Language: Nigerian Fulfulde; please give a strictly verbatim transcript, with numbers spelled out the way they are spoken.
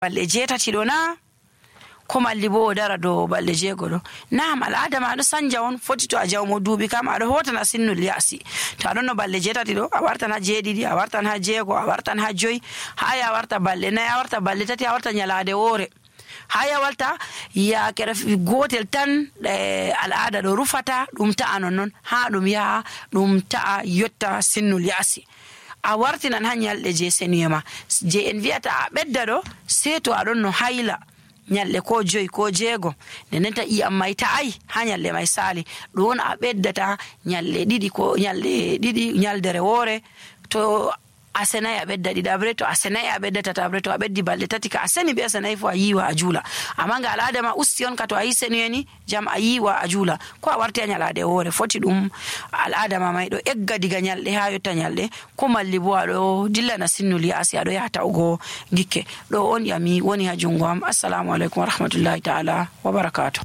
balɗe jeetati ɗo na ko malli bo o dara dow balɗe jeego ɗo. Naam al'ada ma ɗo sanja on, foti to a jawmo duuɓi kam aɗo hotana sinnul ya'si. To aɗon no balɗe jeetati ɗo a wartan ha jeeɗiɗi, a wartan ha jeego, a wartan ha joyi, haa ya warta balɗe nayi, a warta balɗe tati, a warta nyalaade woore. Haa ya warta yaakere gotel tan al'ada ɗo rufata ɗum ta'a nonnon haa ɗum yaha ɗum ta'a yotta sinnul ya'si. A wartinan ha nyalɗe je senuyema je en wi'ata a ɓedda ɗo, sei to aɗon no hayla nyalɗe ko joyi ko jeego, nden ta iyam mai ta'ai ha nyalɗe mai sali, ɗon a ɓeddata nyalɗe ɗiɗi ko nyalɗe ɗiɗi nyaldere woore. To a senayi a ɓedda ɗiɗabre, to a senayi a ɓedda tatabre, to a ɓeddi balɗe tati ka a seni be a senayi fu a yiwa a juula. Amma nga al'ada ma usti on ka to a yi senuyeni jam a yiwa a juula, ko a warti a nyalade woore. Foti ɗum al'ada ma mai ɗo egga diga nyalɗe ha yotta nyalɗe, ko malli bo aɗo dillana sinnul ya'si aɗo yaha ta'ugo gikke. Ɗo on yami woni ha jungo am. Assalamu alaikum wa rahmatullahi ta'ala wa barakatuh.